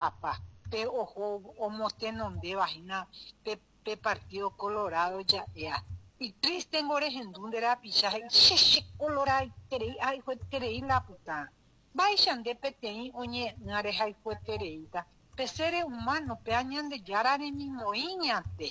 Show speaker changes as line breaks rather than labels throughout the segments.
Apa, pe oho omotenondéva hína pe pe Partido Colorado ja'éa. Itrístengo rehendu nde rapicha he'i che che koloradoiterei ahayhueterei la pytã. Mba'éicha nde peteĩ oñe'ẽ'ỹa rehayhuetereíta pe seres humano péa Ñandejára remimoĩ ñande.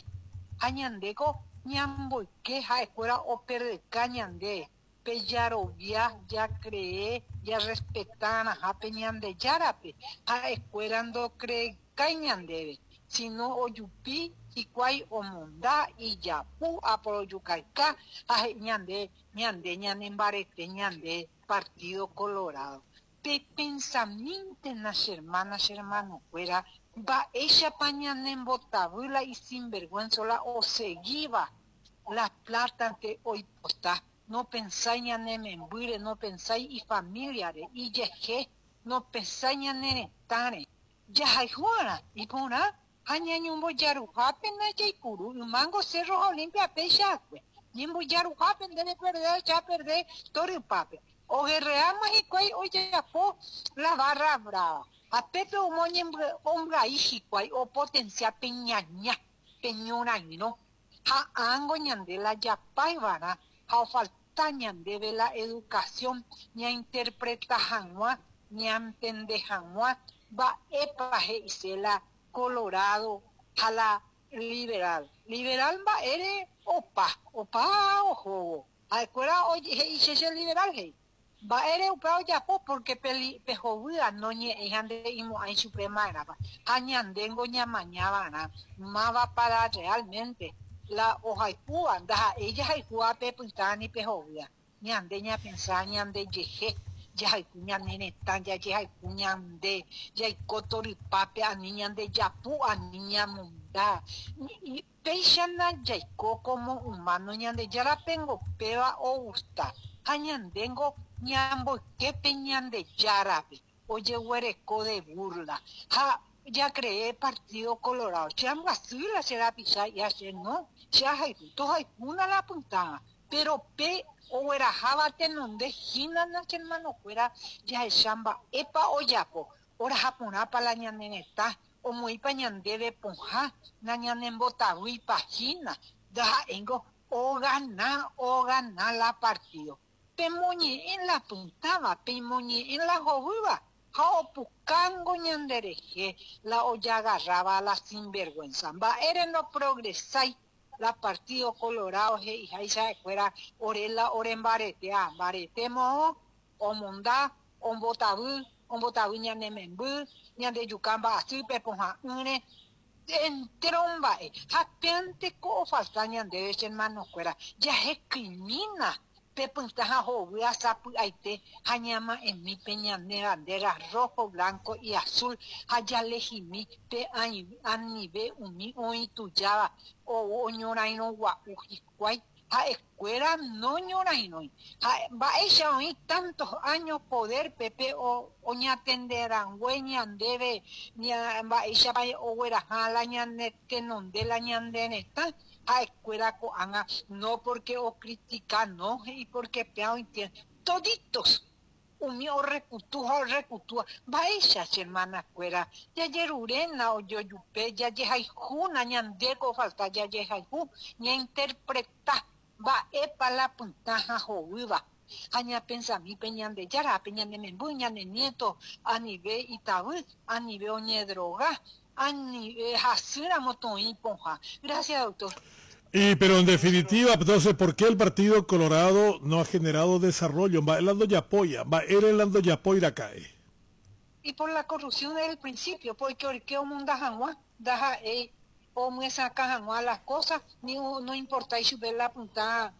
Ha ñandéko ñamboyke ha'ekuéra operdeka ñande Pe jarovia, jacree, jarrespeta'arãha pe Ñandejárape, ha'ekuéra ndocreekái ñandéve, sino ojupi hikuái omonda, ijapu, aporojukayka ha he'i ñande, ñande ñanembarete ñande Partido Colorado. Pepensamíntena che hermana, che hermano-kuéra, mba'éichapa ñanembotavy la isinvergüenza la osegíva La plátante oipota, nopensái ñane membýre, nopensái ifamíliare, ijehe, nopensái ñane retãre. Jahayhu'arã iporã ha ñañombojaruhápe ndajaipuru ymángo Cerro ha Olimpia péicha akue. Ñembojaruhápe nde reperde ahecha perde torypápe. Ogerreáma hikuái ojapo la barra brava ha pépe omoñembyai hikuái opotencia pe ñaña, pe ñorairõ. Ha ángo ñande la japáivarã ha ofalta ñandéve la educación ñainterpreta hag̃ua, ñantende hag̃ua mba'épa he'ise la colorado ha la liberal. Liberal mba'ére opa, opa ohóvo. Ha'ekuéra he'i che che liberal he'i. Mba'ére upéva ojapo? Pórke pe hovýva noñe'ẽi ha nde'imo'ãi chupe ma'erãpa. Ha ñandéngo ñamaña va'erã mávapa la rreálmente la ohayhúva, ndaha'éi jahayhúva pe pytã ni pe hovýva. Ñande ñapensa ñandejehe, jahayhu ñane retã, jajehayhu ñande, jaiko torypápe, ani ñandejapu, ani ñamonda. Péichana jaiko kómo umáno Ñandejárapengo péva ogusta, ha ñandéngo ñamboyke pe Ñandejárape ojeguereko de burla, ha jacree Partido Colorado. Che ambyasy la che rapicha ha che no, che ahayhu, tohayhúna la pytãva, pero pe ogueraháva tenonde hína na che hermanokuéra jahecha mba'épa ojapo, oraha porãpa la ñane retã, Omoĩpa ñandéve pohã nañanembotavýipa hína, ndaha'éingo ogana ogana la partido. Pemoñe'ẽ la pytãva, pemoñe'ẽ la hovýva ha opukángo ñanderehe la ojagarráva la sinvergüenza. Mba'ére noprogresái la Partido Colorado he'iháicha ha'ekuéra ore la orembaretea, mbarete moõ Omonda, ombotavy, ombotavy ñane memby, ñandejuka mba'asýpe pohã'ỹre, entéro mba'e. Ha péante ko ofalta ñandéve che hermanokuéra, jahekymína pe pytã ha hovýa sapy'aite ha ñama'ẽmi pe ñane bandera rojo, blanco y azul ha jalehimi pe anive umi oĩ tujáva ou oñorairõ gua'u hikuái. Ha'ekuéra noñorairõi. Ha mba'éicha oĩ tantos años poder-pe pe oñatende rangue ñandéve mba'éichapa ogueraha la ñane tenonde la ñande retã, ha'ekuéra ko'ág̃a no porque ocritica no he'i porque péa ointiende. Toditos Umi orrekutu ha orrekutúva, mba'éicha che hermana-kuéra, jajeruréna ojojupe, jajehayhúna, ñandéko ofalta jajehayhu, ñainterpreta mba'épa la pytã ha hovýva, ha ñapensami pe Ñandejára, pe ñane memby, ñane nieto, anive itavy, anive oñedroga, anive hasýramo toĩ pohã. Gracias, doctor.
Y pero en definitiva, entonces, ¿por qué el Partido Colorado no ha generado desarrollo? Mba'e la ndojapoia, mba'ére la ndojapói raka'e?
Y por la corrupción desde el principio, porque oike omonda hag̃ua, ndaha'éi omyesakã hag̃ua las cosas, ni no importái chupe la pytã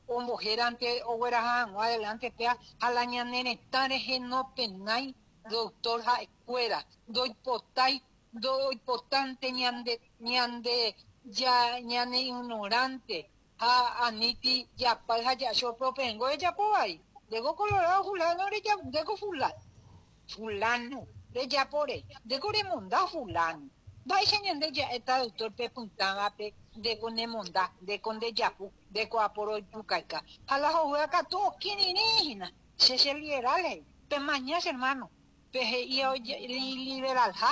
ombohérante ogueraha hag̃ua adelante péa ha la ñane retã rehe nopenái doctor ha'ekuéra, ndoipotái Ndoipotánte ñande ñande ja ñane ignorante ha aníti japáy ha ja'acho propengo rejapo vai. Ndéko colorado fulano rejapo, ndéko fulano, fulano rejapo rei, ndéko remonda fulano. Mba'éicha ñande ja'éta doctor pe pytãvape ndéko nemonda, ndéko ndejapu, ndéko aporojukayka. Ha la hovýva katu okirirĩ hína, che che liberal he'i. Pemaña che hermano. Pe he'íva iliberalha.